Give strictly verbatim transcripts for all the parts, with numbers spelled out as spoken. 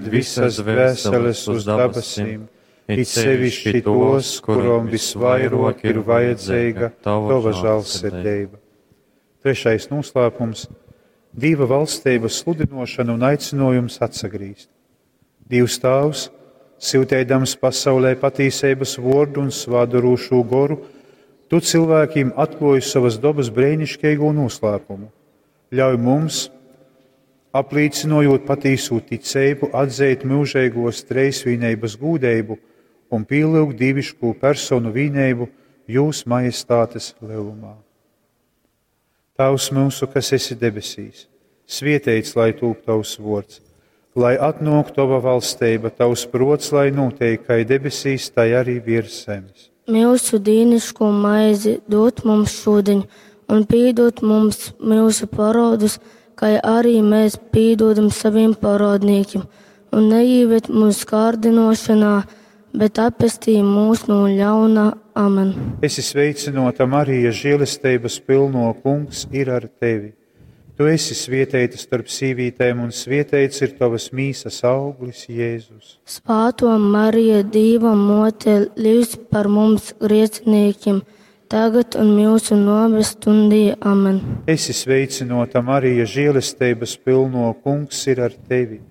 aizved visas dvēseles uz dabasim, it sevišķi tos, kurom visvairāk ir vajadzīga tava žēlsirdība. Trešais noslēpums - Dieva valstības sludinošana un aicinājums atsagrīzt. Dievs Tēvs, sūtēdams pasaulē patīsības vordu un svādarūšo goru, tu cilvēkiem atklāji savas dabas brēnišķīgo noslēpumu. Ļauj mums, apliecinojot patīsu ticību, atzīt mūžīgos treisvīnības gūdību un pielūgt dievišķo personu vīnību jūs majestātes lielumā. Tavs mūsu, kas esi debesīs, svietēts, lai tūp tavs vords, lai atnāk tava valstība, tavs prots, lai notiek, kai debesīs, tai arī virs zemes. Mūsu dīniško maizi dod mums šodien, un piedod mums mūsu parodus, kā arī mēs piedodam saviem parodniekiem, un neieved mūsu kārdinošanā, bet atpestī mūs no ļauna. Amen. Esi sveicināta, Marija, žēlestības pilno kungs ir ar tevi. Tu esi svietēta starp sīvītēm, un svietēts ir tavas mīsas auglis, Jēzus. Svāto Marija, Dieva mote, lūdz par mums grēciniekiem, tagad un mūsu nāves stundī. Amen. Esi sveicināta, Marija, žēlestības pilno kungs ir ar tevi.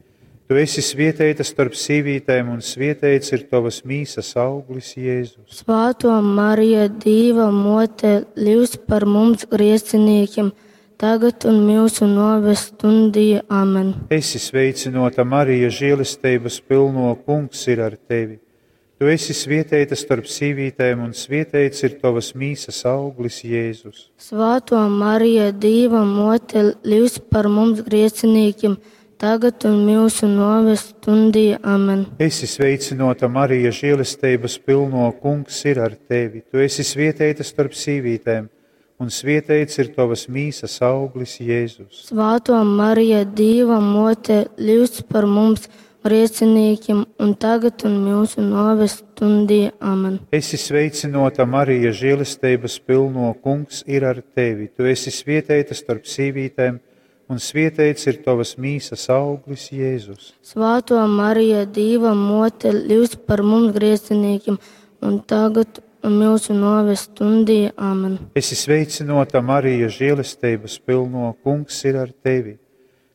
Tu esi svietēta starp sīvītēm, un svietēts ir tavas mīsas auglis, Jēzus. Svāto Marija, Dieva mote, lūdz par mums grēciniekiem, tagad un mūsu nāves stundī. Amen. Esi sveicināta, Marija, žēlestības pilno kungs ir ar tevi. Tu esi svietēta starp sīvītēm, un svietēts ir tavas mīsas auglis, Jēzus. Svāto Marija, Dieva mote, lūdz par mums grēciniekiem, tagad un mūsu nāves stundī. Amen. Esi sveicināta, Marija, žēlestības pilno kungs ir ar tevi. Tu esi svietēta starp sīvītēm, un svietēts ir tavas mīsas auglis, Jēzus. Svāto Marija, Dieva mote, lūdz par mums grēciniekiem, un tagad un mūsu nāves stundī. Amen. Esi sveicināta, Marija, žēlestības pilno kungs ir ar tevi. Tu esi svietēta starp sīvītēm, un svietēts ir tavas mīsas auglis, Jēzus. Svāto Marija, Dieva mote, lūdz par mums grēciniekiem, un tagad un mūsu nāves stundī. Amen. Esi sveicināta, Marija, žēlestības pilno kungs ir ar tevi.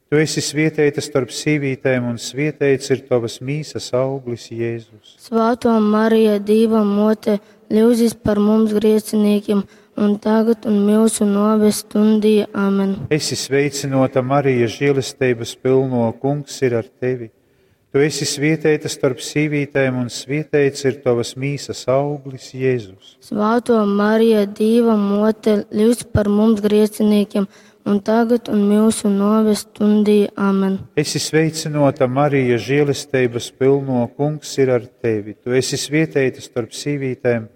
Tu esi svietēta starp sīvītēm, un svietēts ir tavas mīsas auglis, Jēzus. Svāto Marija, Dieva mote, lūdzis par mums grēciniekiem, un tagad un mūsu nāves stundī. Amen. Esi sveicināta, Marija, žēlestības pilno kungs ir ar tevi. Tu esi svietēta starp sīvītēm, un svietēts ir tavas mīsas auglis, Jēzus. Svāto Marija, Dieva mote, lūdz par mums grēciniekiem, un tagad un mūsu nāves stundī. Amen. Esi sveicināta, Marija, žēlestības pilno kungs ir ar tevi. Tu esi svietēta starp sīvītēm,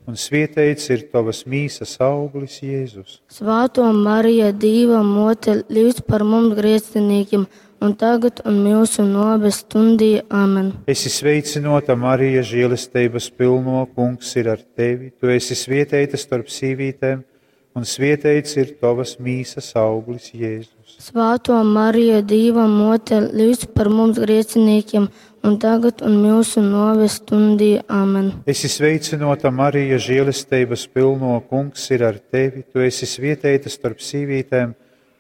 un svietēts ir tavas mīsas auglis, Jēzus. Svāto Marija, Dieva mote, lūdz par mums grēciniekiem, un tagad un mūsu nāves stundī. Amen. Esi sveicināta, Marija, žēlestības pilno kungs ir ar tevi. Tu esi svietēta starp sīvītēm, un svietēts ir tavas mīsas auglis, Jēzus. Svāto Marija, Dieva mote, lūdz par mums grēciniekiem, un tagad un mūsu nāves stundī. Amen. Esi sveicināta, Marija, žēlestības pilno kungs ir ar tevi. Tu esi svietēta starp sīvītēm,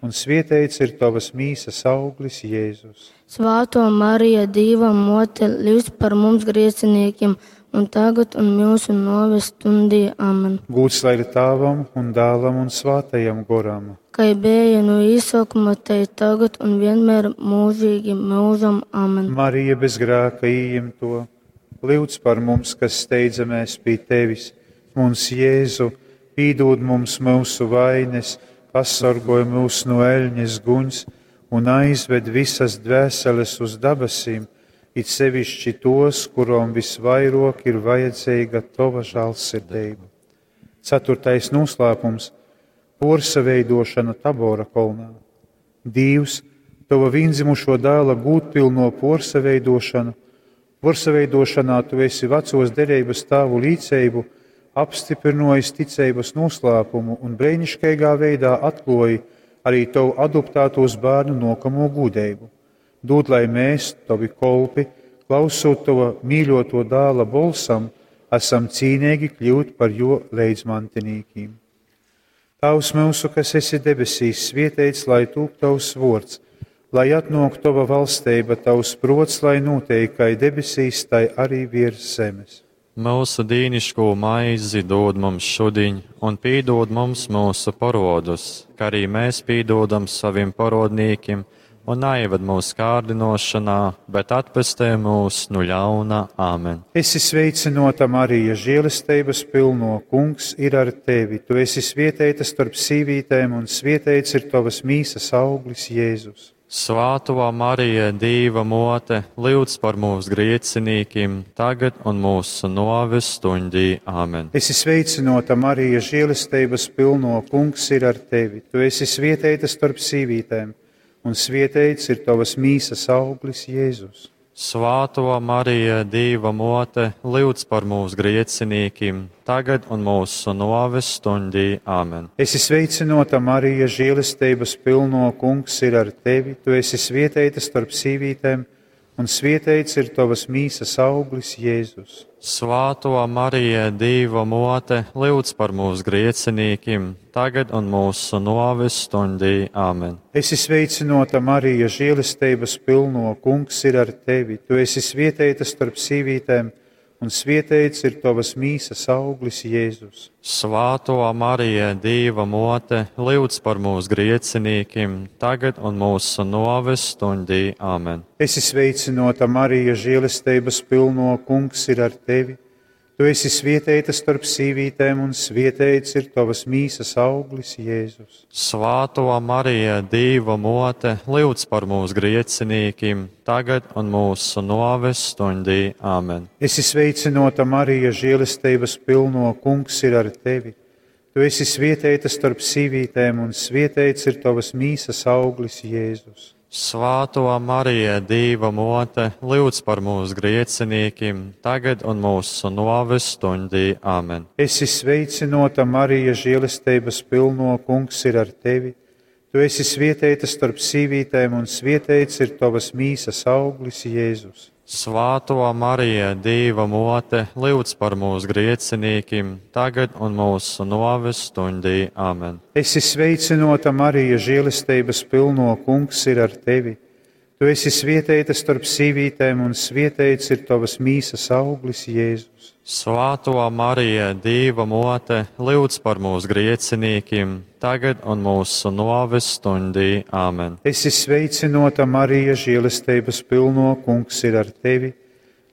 un svietēts ir tavas mīsas auglis, Jēzus. Svāto Marija, Dieva mote, lūdz par mums grēciniekiem, un tagad un mūsu nāves stundī. Amen. Gūts lai ir Tēvam un Dēlam un Svētajam Goram. Kai bija no īsākuma, tai tagad un vienmēr mūžīgi mūžam. Amen. Marija bez grēka ieimto, lūdz par mums, kas steidzamies pie tevis. Mums, Jēzu, pīdod mums mūsu vainas, pasargoj mūs no eļņas guņas un aizved visas dvēseles uz dabasīm, it sevišķi tos, kurom visvairāk ir vajadzīga tava žēlsirdība. Ceturtais noslēpums - porsaveidošana Tabora kolnā. Dievs, tava vienzimušo dēla gūtpilno porsaveidošanu, porsaveidošanā tu esi vecos derības tēvu līdzību, apstiprinojis ticības noslēpumu un brēnišķīgā veidā atklāji arī tavu adoptētos bērnu nokamo gudrību. Dūd, lai mēs, Tavi kolpi, klausot Tava mīļoto dāla bolsam, esam cīnīgi kļūt par jo leidzmantinīkiem. Tēvs mūsu, kas esi debesīs, svietēts, lai tūp Tavs vārds, lai atnāk Tava valstība, Tavs prots, lai notiek kai debesīs, tai arī virs zemes. Mūsu dīniško maizi dod mums šodien, un pīdod mums mūsu parodus, kā arī mēs pīdodam saviem parodnīkiem, un neieved mūsu kārdinošanā, bet atpestē mūs no ļauna. Āmen. Esi sveicinota, Marija, žēlestības pilno, Kungs ir ar tevi. Tu esi svietēta starp sīvītēm, un svietēts ir tavas mīsas auglis, Jēzus. Svāto Marija, Dīva mote, lūdz par mūsu griecinīkim, tagad un mūsu noves stundī. Āmen. Esi sveicinota, Marija, žēlestības pilno, Kungs ir ar tevi. Tu esi svietēta starp sīvītēm, un svietēts ir tavas mīsas auglis, Jēzus. Svāto Marija, Dīva mote, lūdz par mūsu griecinīkim, tagad un mūsu noves stundī. Āmen. Esi sveicinota, Marija, žēlestības pilno, Kungs ir ar tevi. Tu esi svietēta starp sīvītēm, un svietēts ir tavas mīsas auglis, Jēzus. Svāto Marija, Dīva mote, lūdz par mūsu griecinīkim, tagad un mūsu noves stundī. Āmen. Esi sveicinota, Marija, žēlestības pilno, Kungs ir ar tevi. Tu esi svietēta starp sīvītēm, un svietēts ir tavas mīsas auglis, Jēzus. Svāto Marija, Dīva mote, lūdz par mūsu griecinīkim, tagad un mūsu noves stundī. Āmen. Esi sveicinota, Marija, žēlestības pilno, Kungs ir ar tevi. Tu esi svietēta starp sīvītēm, un svietēts ir tavas mīsas auglis, Jēzus. Svāto Marija, Dīva mote, lūdz par mūsu griecinīkim, tagad un mūsu noves stundī. Āmen. Esi sveicinota, Marija, žēlestības pilno, Kungs ir ar tevi. Tu esi svietēta starp sīvītēm, un svietēts ir tavas mīsas auglis, Jēzus. Svāto Marija, Dīva mote, lūdz par mūsu griecinīkim, tagad un mūsu noves stundī. Āmen. Esi sveicinota, Marija, žēlestības pilno, Kungs ir ar tevi. Tu esi svietēta starp sīvītēm, un svietēts ir tavas mīsas auglis, Jēzus. Svāto Marija, Dīva mote, lūdz par mūsu griecinīkim, tagad un mūsu noves stundī. Āmen. Esi sveicinota, Marija, žēlestības pilno, Kungs ir ar tevi. Tu esi svietēta starp sīvītēm, un svietēts ir tavas mīsas auglis, Jēzus. Svāto Marija, Dīva mote, lūdz par mūsu griecinīkim, tagad un mūsu noves stundī. Āmen. Esi sveicinota, Marija, žēlestības pilno, Kungs ir ar tevi.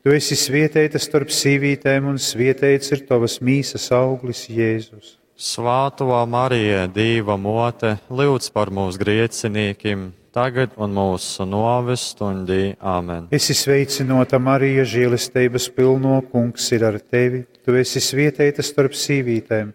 Tu esi svietēta starp sīvītēm, un svietēts ir tavas mīsas auglis, Jēzus. Svāto Marija, Dīva mote, lūdz par mūsu griecinīkim, tagad un mūsu noves stundī. Āmen. Esi sveicinota, Marija, žēlestības pilno, Kungs ir ar tevi. Tu esi svietēta starp sīvītēm,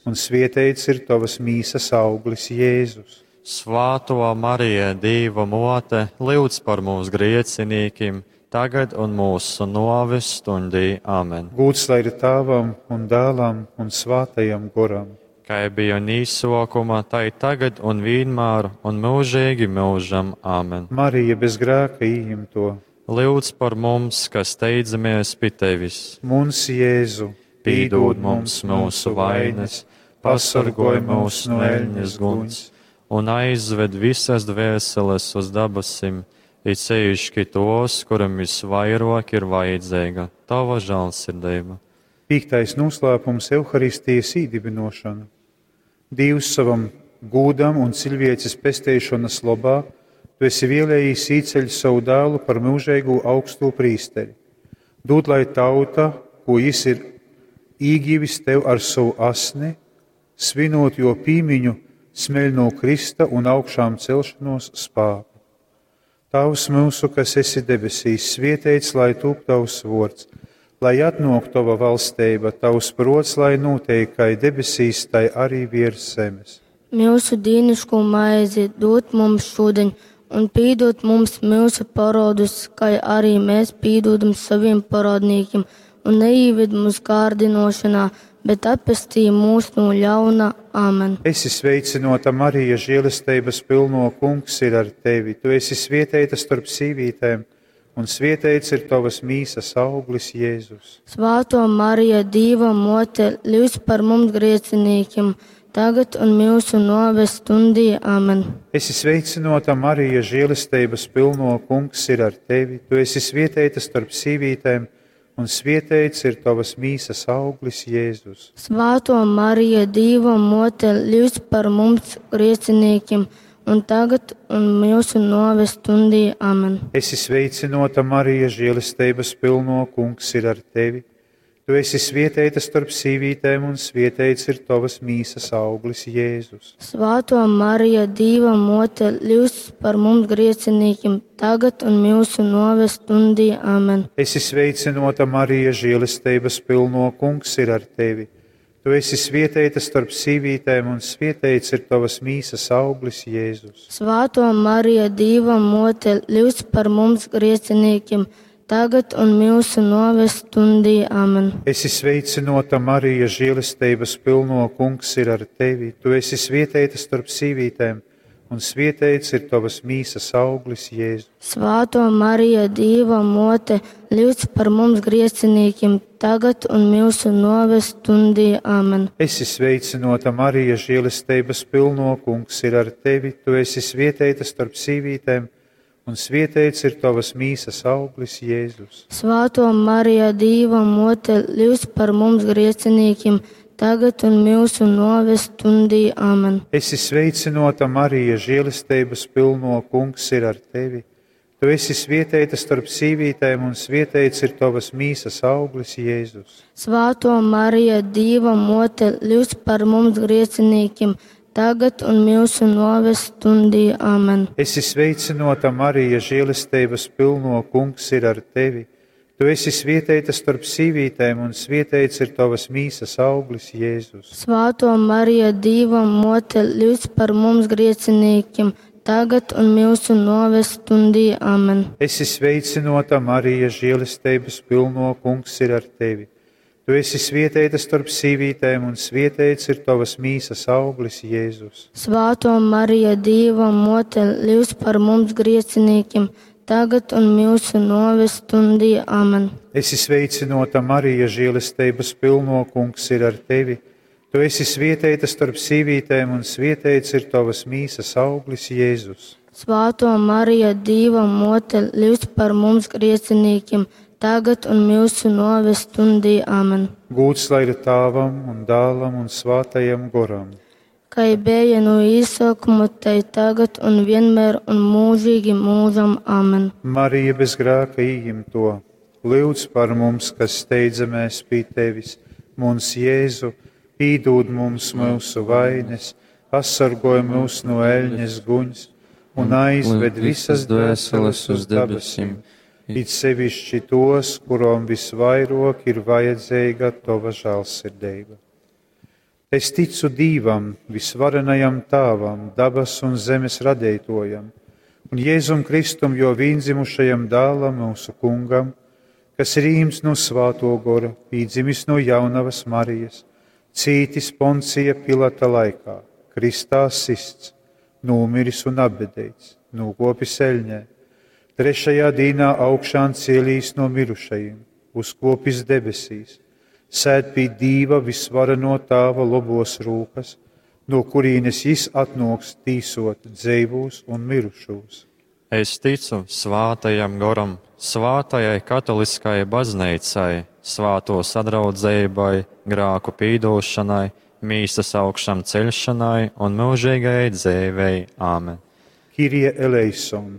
un svietēts ir tavas mīsas auglis, Jēzus. Svāto Marija, Dīva mote, lūdz par mūsu griecinīkim, tagad un mūsu noves stundī. Āmen. Gūts lai ir Tēvam un Dēlam un Svātajam Goram. Kā bija un īsokuma, tai tagad un vienmēr un mūžīgi mūžam. Āmen. Marija bez grēka ījimto. Lūdz par mums, kas steidzamies pie tevis. Mums Jēzu, Pīdod mums mūsu vainas, pasargoj mūs no eļņas guns un aizved visas dvēseles uz dabasim, it sevišķi tos, kuram visvairāk ir vajadzīga tava žēlsirdība. Piektais noslēpums - Euharistijas īdibinošana. Dievs savam gūdam un cilvēces pesteišanas lobā, tu esi vēlējis īceļ savu dēlu par mūžīgu augsto prīsteri. Dod, lai tauta, ko jis ir īgivis tev ar savu asni, svinot jo pīmiņu, smeļ no Krista un augšām celšanos spāku. Tavs mūsu, kas esi debesīs, svietēts, lai tūp tavs vārds, lai atnāk tava valstība, tavs prots, lai notiek kai debesīs, tai arī virs zemes. Mūsu dīniško maizi dod mums šodien, un pīdod mums mūsu parodus, kā arī mēs pīdodam saviem parodnīkiem, un neieved mūsu kārdinošanā, bet atpestī mūs no ļauna. Āmen. Esi sveicināta, Marija, žēlestības pilno kungs ir ar tevi. Tu esi svietēta starp sīvītēm, un svietēts ir tavas mīsas auglis, Jēzus. Svāto Marija, Dīva mote, lūdz par mums grēciniekiem, tagad un mūsu nāves stundī. Āmen. Esi sveicināta, Marija, žēlestības pilno kungs ir ar tevi. Tu esi svietēta starp sīvītēm, un svietēts ir tavas mīsas auglis, Jēzus. Svāto Marija, Dīva mote, lūdz par mums grēciniekiem, un tagad un mūsu nāves stundī. Āmen. Esi sveicināta, Marija, žēlestības pilno kungs ir ar tevi. Tu esi svietēta starp sīvītēm, un svietēts ir tavas mīsas auglis, Jēzus. Svāto Marija, Dīva mote, lūdz par mums grēciniekiem, tagad un mūsu nāves stundī. Āmen. Esi sveicināta, Marija, žēlestības pilno kungs ir ar tevi. Tu esi svietēta starp sīvītēm, un svietēts ir tavas mīsas auglis, Jēzus. Svāto Marija, Dīva mote, lūdz par mums grēciniekiem, tagad un mūsu nāves stundī. Āmen. Esi sveicināta, Marija, žēlestības pilno kungs ir ar tevi. Tu esi svietēta starp sīvītēm, un svietēts ir tavas mīsas auglis, Jēzus. Svāto Marija, Dīva mote, lūdz par mums grēciniekiem, tagad un mūsu nāves stundī. Āmen. Esi sveicināta, Marija, žēlestības pilno kungs ir ar tevi. Tu esi svietēta starp sīvītēm, un svietēts ir tavas mīsas auglis, Jēzus. Svāto Marija, Dīva mote, lūdz par mums grēciniekiem, tagad un mūsu nāves stundī. Āmen. Esi sveicināta, Marija, žēlestības pilno kungs ir ar tevi. Tu esi svietēta starp sīvītēm, un svietēts ir tavas mīsas auglis, Jēzus. Svāto Marija, Dīva mote, lūdz par mums grēciniekiem, tagad un mūsu nāves stundī. Āmen. Esi sveicināta, Marija, žēlestības pilno kungs ir ar tevi. Tu esi svietēta starp sīvītēm, un svietēts ir tavas mīsas auglis, Jēzus. Svāto Marija, Dīva mote, lūdz par mums grēciniekiem, tagad un mūsu nāves stundī. Āmen. Esi sveicināta, Marija, žēlestības pilno kungs ir ar tevi. Tu esi svietēta starp sīvītēm, un svietēts ir tavas mīsas auglis, Jēzus. Svāto Marija, Dīva mote, lūdz par mums grēciniekiem, tagad un mūsu nāves stundī. Āmen. Esi sveicināta, Marija, žēlestības pilno kungs ir ar tevi. Tu esi svietēta starp sīvītēm, un svietēts ir tavas mīsas auglis, Jēzus. Svāto Marija, Dīva mote, lūdz par mums grēciniekiem, tagad un mūsu nāves stundī. Āmen. Gūts lai ir Tāvam un Dālam un Svātajam Goram. Kai bija no īsākuma, tai tagad un vienmēr un mūžīgi mūžam. Āmen. Marija bez grēka ījimto, lūdz par mums, kas steidzamies pie tevis, mums Jēzu, pīdūd mums mūsu vainas, pasargoj mūs no eļņas guņas un aizved visas dvēseles uz debesīm, it sevišķi tos, kurom visvairāk ir vajadzīga tava žēlsirdība. Es ticu Dīvam, visvarenajam Tāvam, dabas un zemes radītojam, un Jēzum Kristum, jo vīndzimušajam dēlam mūsu kungam, kas ir īms no svāto gora, pīdzimis no jaunavas Marijas, cītis Poncija Pilata laikā, kristā sists, nūmiris un apbedēts, nūkopis eļņē, trešajā dīnā augšām cielīs no mirušajiem, uzkopis debesīs, sēd pie Dīva visvareno Tāva lobos rūkas, no kurienes jis atnoks tīsot dzeivūs un mirušos. Es ticu svātajam goram, svātajai katoliskajai baznīcai, svāto sadraudzēbai, grāku pīdošanai, mīsas augšām ceļšanai un mūžīgajai dzīvei. Āmen. Kirie eleison,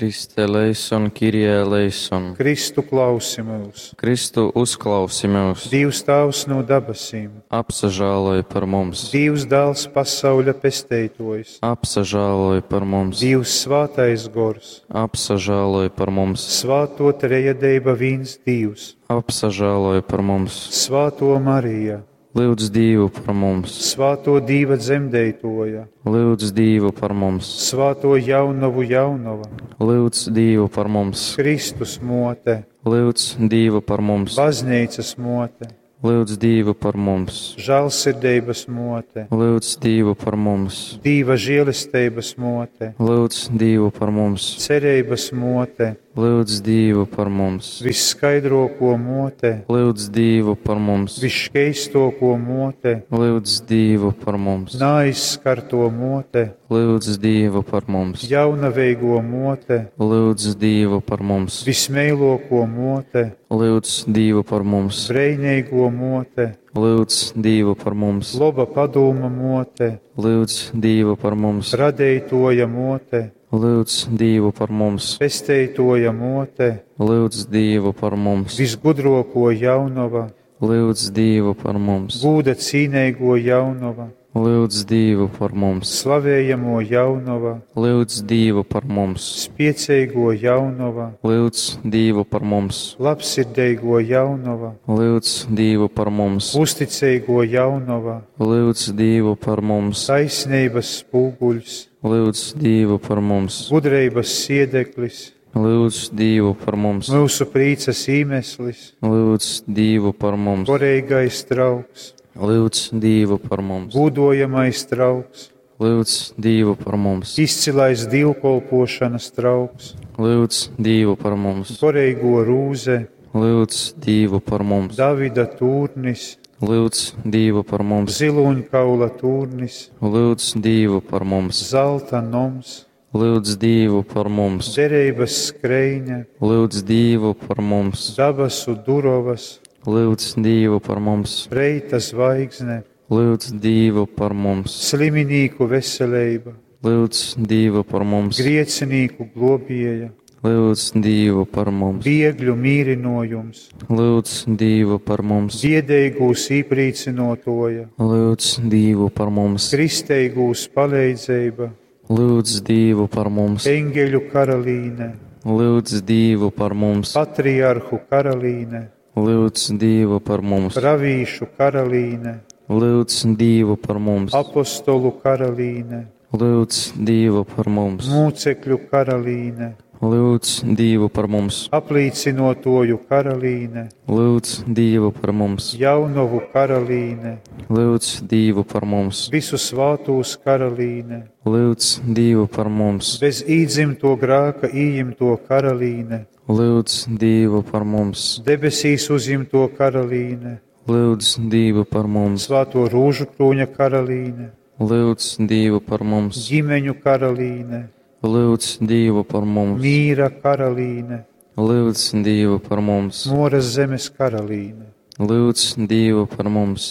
Kriste eleison, Kyrie eleison. Kristu klausi mūs, Kristu uzklausi mūs, Dievs Tāvs no dabasīm, apsažāloj par mums, Dievs Dēls pasauļa pesteitojs, apsažāloj par mums, Dievs Svātais Gors, apsažāloj par mums, Svāto trejadeiba vīns Dievs, apsažāloj par mums, Svāto Marija, lūdz Dievu par mums, Svāto Dīva dzemdeitoja, lūdz Dievu par mums, Svāto jaunavu jaunava, lūdz Dievu par mums, Kristus mote, lūdz Dievu par mums, Baznīcas mote, Lūdz Dīvu par mums. Žālsirdeibas mote, Lūdz Dīvu par mums. Dīva žēlesteibas mote, Lūdz Dīvu par mums. Cereibas mote, Lūdz Dīvu par mums. Visskaidroko mote, Lūdz Dīvu par mums. Visškeistoko mote, Lūdz Dīvu par mums. Naaizskarto mote, Lūdz Dīvu par mums. Jaunaveigo mote, Lūdz Dīvu par mums. Vismeiloko mote, Lūdz Dīvu par mums. Breineigo mote, Lūdz Dīvu par mums. Loba padūma mote, Lūdz Dīvu par mums. Radeitoja mote, Lūdz Dīvu par mums. Pesteitoja mote, Lūdz Dīvu par mums. Visgudroko jaunova, Lūdz Dīvu par mums. Gūda cīneigo jaunova, Lūdz Dīvu par mums. Slavējamo jaunova, Lūdz Dīvu par mums. Spieceigo jaunova, Lūdz Dīvu par mums. Labsirdeigo jaunova, Lūdz Dīvu par mums. Uzticeigo jaunova, Lūdz Dīvu par mums. Taisneibas spūguļs, Lūdz Dīvu par mums. Gudreibas siedeklis, Lūdz Dīvu par mums. Myusu prīcas īmeslis, Lūdz Dīvu par mums. Goreigais trauks, Lūdz Dīvu par mums. Gūdojamais trauks, Lūdz Dīvu par mums. Izcilais dievkolpošanas trauks, Lūdz Dīvu par mums. Goreigo rūze, Lūdz Dīvu par mums. Davida tūrnis, Lūdz Dīvu par mums. Zilūņkaula tūrnis, Lūdz Dīvu par mums. Zelta noms, Lūdz Dīvu par mums. Dereibas skreine, Lūdz Dīvu par mums. Dabasu durovas, Lūdz Dīvu par mums. Reita zvaigzne, Lūdz Dīvu par mums. Sliminīku veseleiba, Lūdz Dīvu par mums. Griecinīku globieja, Lūdz Dīvu par mums. Biegļu mīrinojums, Lūdz Dīvu par mums. Biedeigūs īprīcinotoja, Lūdz Dīvu par mums. Kristeigūs paleidzeiba, Lūdz Dīvu par mums. Eņgeļu karalīne, Lūdz Dīvu par mums. Patriarhu karalīne, Lūdz Dīvu par mums. Pravīšu karalīne, Lūdz Dīvu par mums. Apostolu karalīne, Lūdz Dīvu par mums. Mūcekļu karalīne, Lūdz Dīvu par mums. Aplīcinotoju karalīne, Lūdz Dīvu par mums. Jaunovu karalīne, Lūdz Dīvu par mums. Visu svātūs karalīne, Lūdz Dīvu par mums. Bez īdzimto grāka ījimto karalīne, Lūdz Dīvu par mums. Debesīs uzjimto karalīne, Lūdz Dīvu par mums. Svāto rūžu krūņa karalīne, Lūdz Dīvu par mums. Ģimeņu karalīne, Lūdz Dīvu par mums. Mīra karalīne, Lūdz Dīvu par mums. Moras zemes karalīne, Lūdz Dīvu par mums.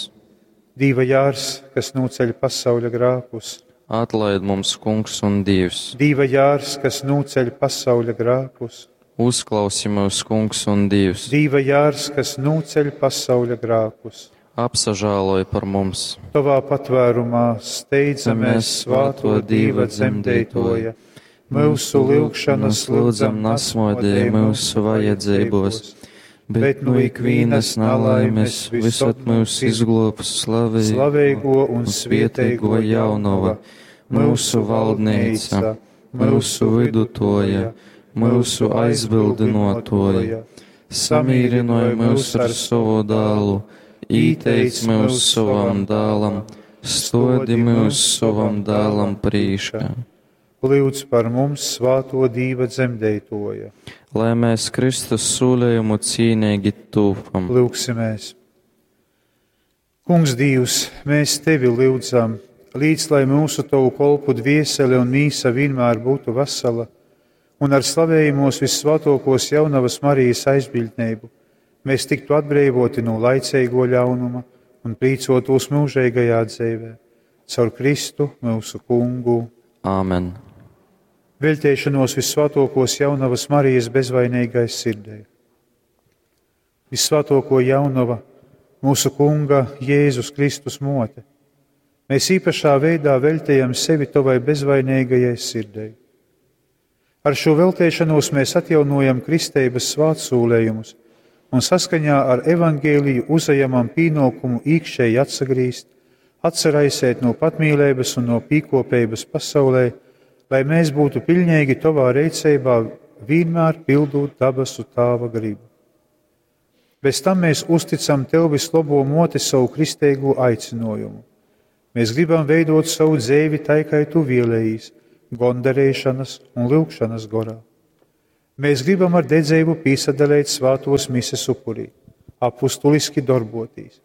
Dīva jārs, kas nūceļ pasauļa grākus, Atlaid mums, Kungs un Dievs. Dīva jārs, kas nūceļ pasauļa grākus, Uzklausi mūs, Kungs un Dievs. Dīva jārs, kas nūceļ pasauļa grākus. Apsažāloj par mums. Tavā patvērumā steidzamies svāto Dīva dzemdētoja. Mūsu lūgšanas lūdzam nasmodē mūsu vajadzībos, bet no ikvienas nalaimes visad mūs izglābs Slaveigo un svieteigo jaunova, mūsu valdneica, mūsu vidutoja, mūsu aizbildinotoja. Samīrinoja mūs ar savu dālu, īteic mūs savam dālam, stodi mūs savam dālam prīškā. Lūdz par mums svāto Dīva dzemdētoja. Lai mēs Kristus sūlējumu cīnīgi tūpam. Lūgsimies! Kungs Dievs, mēs Tevi lūdzam, līdz lai mūsu Tavu kolpu dviesele un mīsa vienmēr būtu vesela, un ar slavējumos vissvētākos jaunavas Marijas aizbildnību mēs tiktu atbrīvoti no laicīgo ļaunuma un prīcotos mūžīgajā dzīvē. Caur Kristu mūsu kungu. Āmen. Veļtēšanos vissvētākos jaunavas Marijas bezvainīgai sirdei. Vissvētāko jaunava, mūsu kunga Jēzus Kristus mote, mēs īpašā veidā veltējam sevi tavai bezvainīgajai sirdei. Ar šo veltēšanos mēs atjaunojam kristeibas svētsūlējumus un saskaņā ar evangēliju uzajamam pienākumu iekšēji atsagrīzt, atsaraisēt no patmīlības un no pīkopības pasaulē, lai mēs būtu pilnīgi tavā rīcībā, vienmēr pildot dabasu tāva gribu. Bez tam mēs uzticam Tev vislobo moti savu kristīgo aicinājumu. Mēs gribam veidot savu dzēvi tai, kai Tu vēlējies, gondarēšanas un lūgšanas gorā. Mēs gribam ar dedzību piesadalīt svātos mises upurī, apustuliski darbotīs,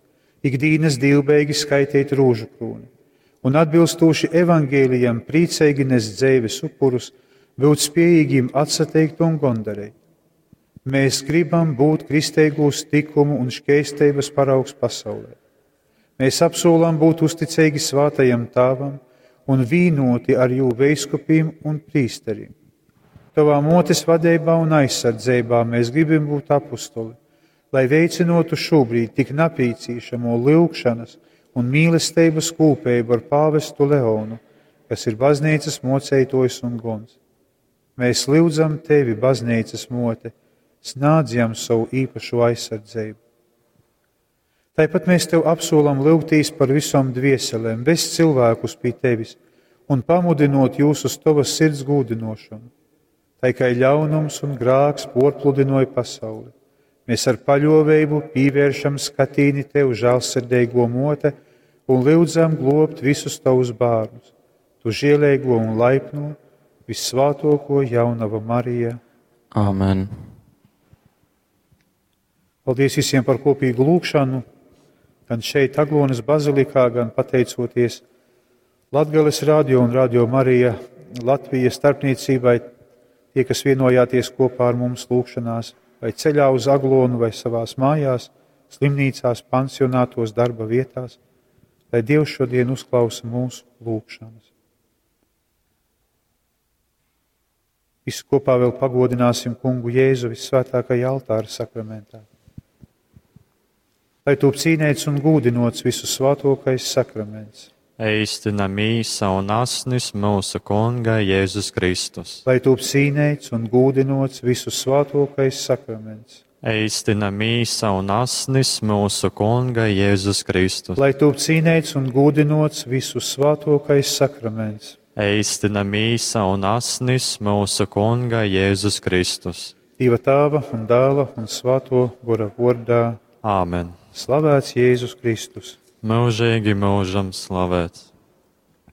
ikdienas divbeigi skaitīt rūžu krūni un atbilstoši evangēlijam priecīgi nest dzēves upurus, būt spējīgiem atsateikt un gondarēt. Mēs gribam būt kristīgūs tikumu un šķēstības paraugs pasaulē. Mēs apsolam būt uzticīgi svātajam tāvam un vīnoti ar jū veiskupiem un prīsteriem. Tavā motes vadībā un aizsardzībā mēs gribam būt apustoli, lai veicinotu šobrīd tik napīcīšamo lūgšanas un mīlestības kūpēju ar pāvestu Leonu, kas ir baznīcas moceitojs un gons. Mēs lūdzam tevi, baznīcas mote, snādz jam savu īpašo aizsardzību. Tāpat mēs tev apsolam lūgtīs par visām dvieselēm, vest cilvēkus pie tevis un pamudinot jūs uz tavas sirds gūdinošanu. Tai kā ļaunums un grāks porpludinoja pasauli, mēs ar paļovību pievēršam skatīni tev žēlsirdīgo mote un lūdzam globt visus tavus bērnus, tu žielīgo un laipno, vissvātoko jaunava Marija. Āmen. Paldies visiem par kopīgu lūgšanu, gan šeit, Aglonas bazilikā, gan pateicoties Latgales radio un Radio Marija Latvijas starpniecībai, tie, kas vienojāties kopā ar mums lūgšanās, vai ceļā uz Aglonu, vai savās mājās, slimnīcās, pansionātos, darba vietās, lai Dievs šodien uzklausa mūsu lūgšanas. Visi kopā vēl pagodināsim kungu Jēzu vissvētākajā altāra sakramentā. Lai tūp cīnēts un gūdinots visu svātokais sakraments. Eistina mīsa un asnis mūsu Kunga Jēzus Kristus. Lai tūp cīnēts un gūdinots visu svātokais sakraments. Eistina mīsa un asnis mūsu Kunga Jēzus Kristus. Lai tūp cīnēts un gūdinots visu svātokais sakraments. Eistina mīsa un asnis mūsu Kunga Jēzus Kristus. Dieva tēva un dēla un svāto gora vārdā. Āmen. Slavēts Jēzus Kristus. Mūžīgi mūžam slavēts.